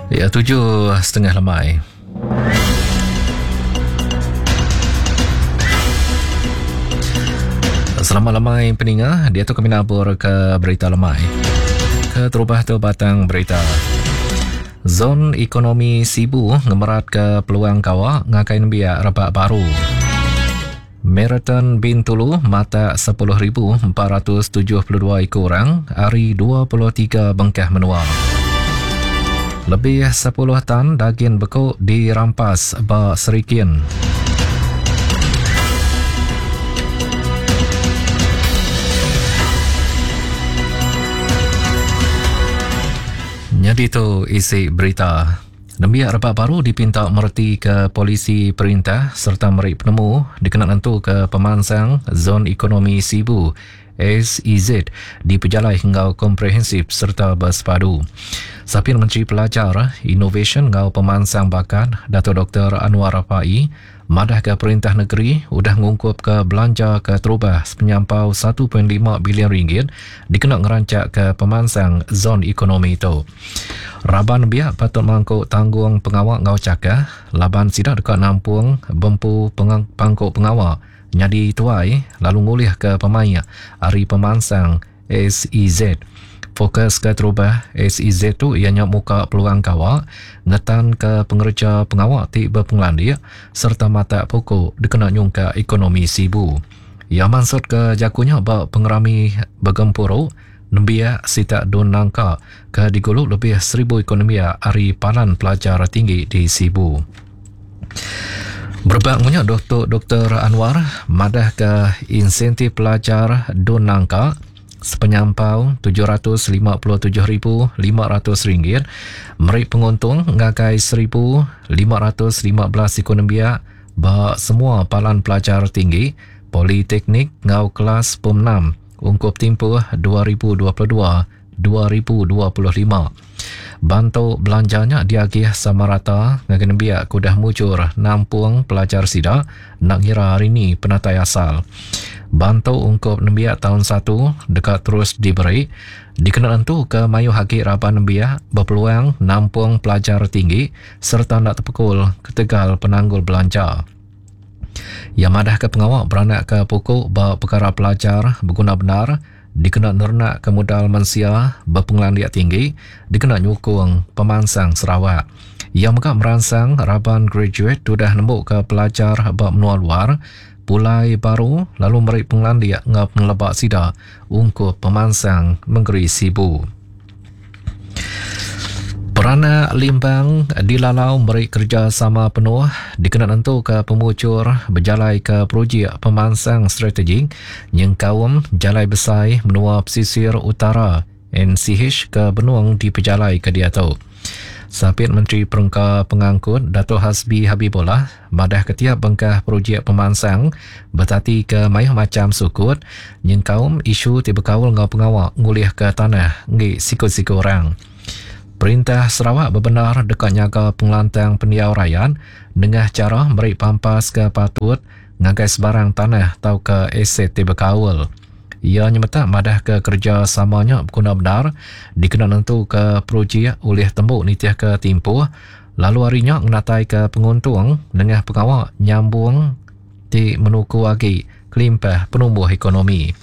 Ya 7:30 lemai. Selamat lemai peninga, dia tu kami nabur ke berita lemai. Keterubah tu batang berita. Zon Ekonomi Sibu ngemerat ke peluang kawa ngagai nembiak rebak baru. Marathon Bintulu matak 10,472 iku orang ari 23 bengkah menua. Lebih 10 tan dagin beku dirampas ba Serikin. Nyadi tu isi berita. Nembiak rebak baru dipinta meretika polisi perintah sereta meri penemu dikena nentuka pemansang Zon Ekonomi Sibu, SEZ, dipejalai enggau komprehensif sereta bersepadu. Sapit Menteri Pelajar, Inovasyen enggau Pemansang Bakat, Datuk Doktor Annuar Rapaee, Madahka perintah negeri udah ngungkupka belanja ke terubah sepenyampau 1.5 bilion ringgit dikena ngeranchakka pemansang zon ekonomi tu. Raban nembiak patut mangku tanggung pengawa enggau chakah laban sida deka nampung bempu pangku pengawa nyadi tuai lalu ngulihka pemaik ari pemansang SEZ. Fokus keterubah SEZ tu iya nya muka peluang gawa, ngetanka pengereja pengawa ti bepengelandik sereta matak puku dikena nyungkak ekonomi Sibu. Iya mansutka jaku nya ba pengerami begempuru nembiak sitak Dun Nangka ke digulu lebih seribu iku nembiak ari palan pelajar tinggi di Sibu. Berebak enggau nya, Datuk Doktor Anwar madahka insentif pelajar Dun Nangka sepenyampau RM757,500 meri penguntung ngagai 1,515 iku nembiak ba semua palan pelajar tinggi, politeknik enggau kelas Pom 6 ungkup timpuh 2022 2025. Bantu belanja nya diagih sama rata ngagai nembiak ke udah mujur nampung pelajar sida enda ngira hari ni penatai asal. Bantu ungkup nembiak taun satu deka terus diberi dikena nentuka mayuh agi raban nembiak bepeluang nampung pelajar tinggi sereta enda tepekul ketegal penanggul belanja. Iya madahka pengawa beranakka puku ba pekara pelajar beguna bendar dikena nerenakka mudal mensia bepengelandik tinggi dikena nyukung pemansang Sarawak. Iya mega meransang raban graduate tudah nembuka pelajar ba menua luar pulai baru lalu meri pengelandik enggau peneleba sida ungkup pemansang mengeri Sibu. Peranak Limbang dilalau meri kerejasama penuh dikena nentuka pemujur bejalaika projek pemansang strategik nyengkaum Jalai Besai Menua Pesisir Utara, NCH, ke benung dipejalaika diatu. Sapit Menteri Perengka Pengangkut Datuk Hasbi Habibollah madahka tiap bengkah projek pemansang betatika mayuh macham sukut nyengkaum isu ti bekaul enggau pengawa ngulihka tanah enggi siku-siku orang. Perintah Sarawak bebendar deka nyaga pengelantang pendiau rayat nengah chara meri pampas ke patut ngagai sebarang tanah tauka aset ti bekaul. Iya nyemetak madahka kerejasama nya beguna bendar dikena nentuka projek ulih tembu nitihka timpuh lalu ari nya ngenataika penguntung nengah pengawa nyambung ti menuku agi kelimpah penumbuh ekonomi.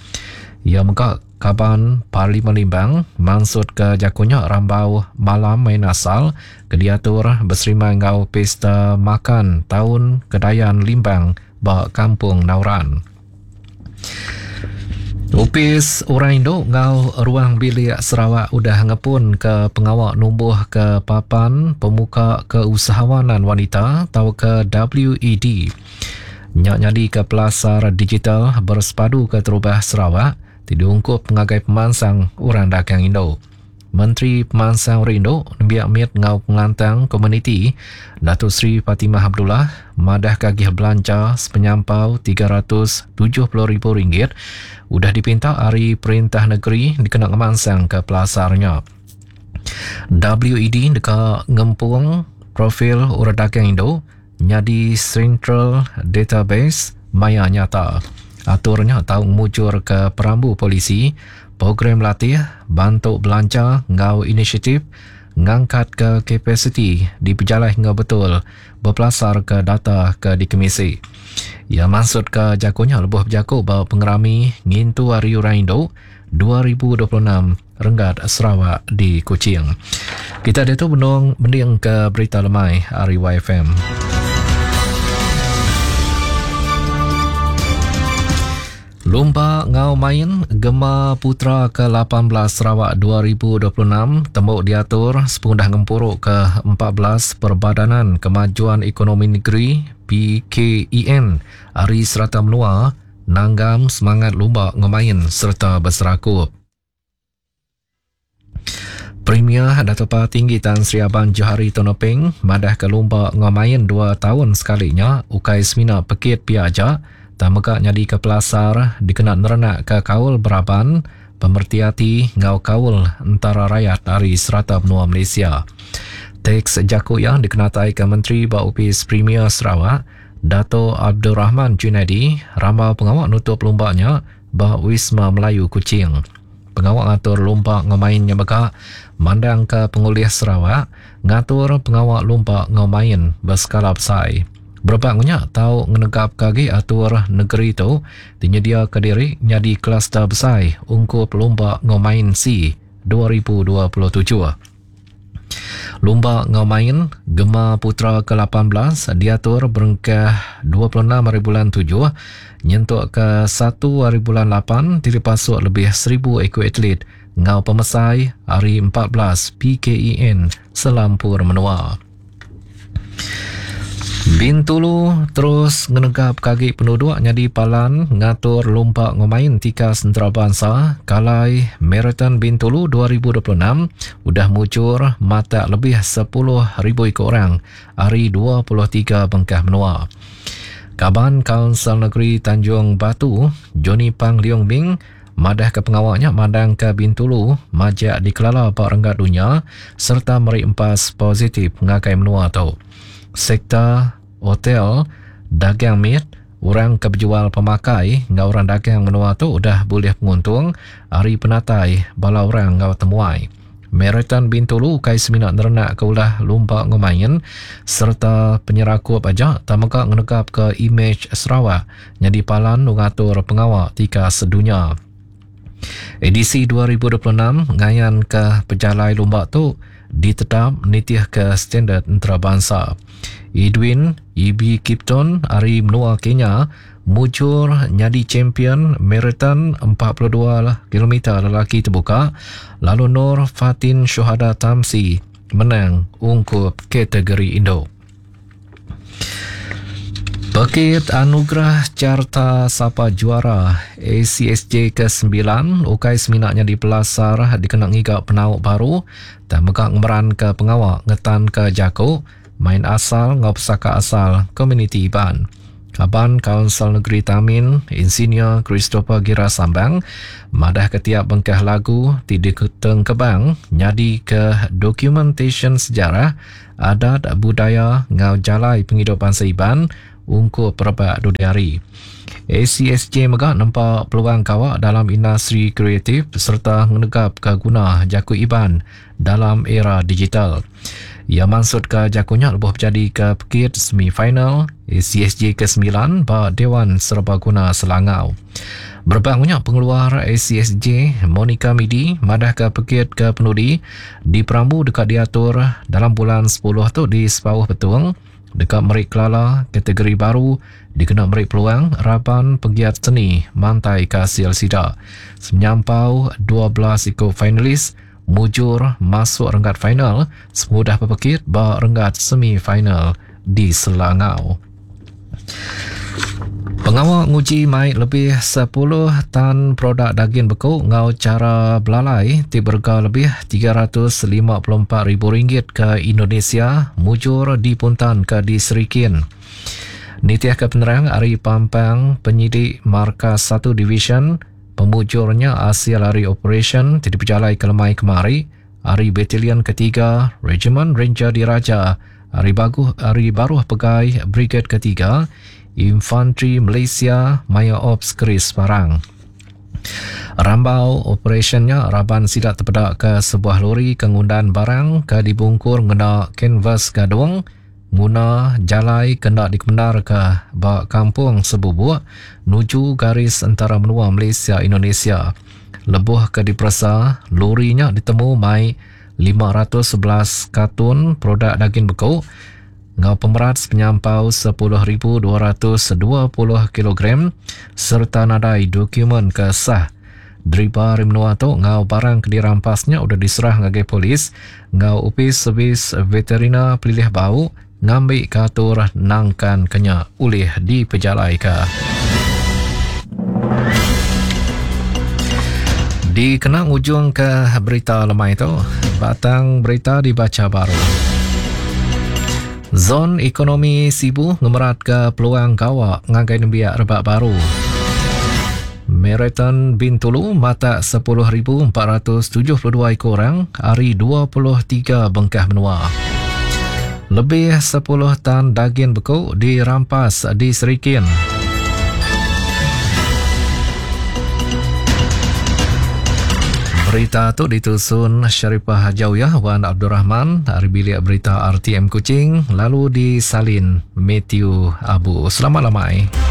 Iya mega Kaban Parlimen Limbang mansutka jaku nya rambau Malam Main Asal ke diatur beserimbai enggau Pesta Makan Taun Kedayan Limbang ba Kampung Nauran. Opis Orang Indu enggau Ruang Bilik Sarawak udah ngepunka pengawa numbuhka Papan Pemuka Keusahawanan Wanita tauka WED. Nya nyadika pelasar digital bersepadu keterubah Sarawak ti diungkup ngagai pemansang orang dagang indu. Menteri Pemansang Orang Indu, Nembiak Mit enggau Pengelantang Komuniti, Datuk Seri Fatimah Abdullah madahka agih belanja sepenyampau RM370,000 udah dipinta ari perintah negeri dikena ngemansangka pelasar nya. WED deka ngempung profil orang dagang indu nyadi Central Database maya nyata. Atur nya tau ngemujurka perambu polisi program latih, bantu belanja enggau inisiatif ngangkatka kapasiti dipejalai enggau betul bepelasarka data ke dikemisi. Iya mansutka jaku nya lebuh bejaku ba pengerami ngintu Hari Orang Indu 2026 renggat Sarawak di Kuching. Kita diatu benung mendingka berita lemai ari YFM. Lumba enggau main Gema Putra ke 18 Sarawak 2026 tembu diatur sepengudah ngempuru ke 14 Perbadanan Kemajuan Ekonomi Negeri PKEN ari serata menua nanggam semangat lumba enggau main sereta beserakup. Premier Datuk Patinggi Tan Sri Abang Johari Tun Openg madahka lumba enggau main dua taun sekali nya ukai semina pekit pia aja tang mega nyadika pelasar dikena nerenakka kaul beraban, pemereti ati enggau kaul entara rayat ari serata menua Malaysia. Teks jaku iya dikenataika Menteri ba Opis Premier Sarawak, Dato Abdul Rahman Junaidi rambau pengawa nutup lumba nya ba Wisma Melayu Kuching. Pengawa ngatur lumba enggau main nya mega mandangka pengulih Sarawak ngatur pengawa lumba enggau main beskala besai. Berebak enggau nya tau ngenegapka agi atur negeri tu ti nyediaka diri nyadi kluster besai ungkup lumba enggau main sea 2027. Lumba enggau main Gema Putra ke 18 diatur berengkah 26 hari bulan 7 nyentuk ke 1 hari bulan 8 ti dipasuk lebih 1000 iku atlet enggau pemesai ari 14 PKEN selampur menua. Bintulu terus ngenegapka agi penuduk nyadi palan ngatur lumba enggau main tikas entarabansa Kalai Marathon Bintulu 2026 udah mujur matak lebih 10,000 iku orang ari 23 bengkah menua. Kaban Kaunsil Negeri Tanjung Batu, Johnny Pang Leong Ming, Madahka pengawa nya mandangka Bintulu majak dikelala ba renggat dunya sereta meri empas positif ngagai menua tu. Sektor hotel, dagang mit, orang ke bejual pemakai enggau orang dagang menua tu udah bulih penguntung ari penatai bala orang enggau temuai. Marathon Bintulu ukai semina nerenakka ulah lumba enggau main sereta penyerakup aja tang mega ngenegapka imej Sarawak nyadi palan ngatur pengawa tikas dunya. Edisi 2026 ngayanka pejalai lumba tu ditetap nitihka standard entarabansa. Edwin Eby Kipton ari menua Kenya mujur nyadi champion marathon 42 kilometer lelaki tebuka lalu Nur Fatin Syuhada Tamsi menang ungkup kategori indu. Pekit Anugerah Carta Sapa Juara ACSJ ke-9 ukai semina nyadi pelasar dikena ngiga penau baru tang mega ngemeranka pengawa ngetanka jaku, main asal enggau pesaka asal komuniti Iban. Kaban Kaunsil Negeri Tamin, Insinyur Christopher Gira Sambang madahka tiap bengkah lagu ti ditengkebang nyadika dokumentasyen sejarah, adat, budaya enggau jalai pengidup bansa Iban ungkup rebak dudi hari. ACSJ mega nempa peluang gawa dalam industri kreatif sereta ngenegapka guna jaku Iban dalam era digital. Iya mansutka jaku nya lebuh bejadika pekit semi-final ACSJ ke-9 ba Dewan Serbaguna Selangau. Berebak nya pengeluar ACSJ Monica Midi madahka pekit ke penudi diperambu deka diatur dalam bulan 10 tu di Sepauh Betong deka meri kelala kategori baru dikena meri peluang raban pegiat seni mantaika asil sida. Semenyampau 12 iku finalis mujur masuk renggat final sepengudah bepekit ba renggat semi-final di Selangau. Pengawa nguji mai lebih 10 tan produk dagin beku enggau chara belalai ti berega lebih RM354,000 ke Indonesia mujur dipuntanka di Serikin. Nitihka penerang ari Pampang Penyidik Markas 1 Divisyen, Pemujur nya asil ari operasyen ti dipejalaika lemai kemari ari Batalion Ketiga Rejimen Renjer Diraja ari baguh ari baruh pegai Briged Ketiga Infantri Malaysia maya Ops Keris Parang. Rambau operasyen nya, raban sida tepedaka sebuah lori ke ngundan barang ke dibungkur ngena kanvas gadung nguna jalai ke enda dikemendarka ba Kampung Sebubuk nuju garis entara menua Malaysia-Indonesia. Lebuh ke diperesa, lori nya ditemu mai 511 kartun produk dagin beku enggau pemerat sepenyampau 10,220 kilogram sereta nadai dokumen ke sah. Deriba ari menua tu enggau barang ke dirampas nya udah diserah ngagai polis enggau Opis Servis Veterina Pelilih Bau ngambika atur nangkanka nya ulih dipejalaika. Dikena ngujungka berita lemai tu, batang berita dibacha baru. Zon Ekonomi Sibu ngemeratka peluang gawa ngagai nembiak rebak baru. Marathon Bintulu matak 10,472 iku orang ari 23 bengkah menua. Lebih 10 tan dagin beku dirampas di Serikin. Berita tu ditusun Sharifah Jawiyah Wan Abdul Rahman dari bilik berita RTM Kuching lalu disalin Matthew Abu. Selamat lamai.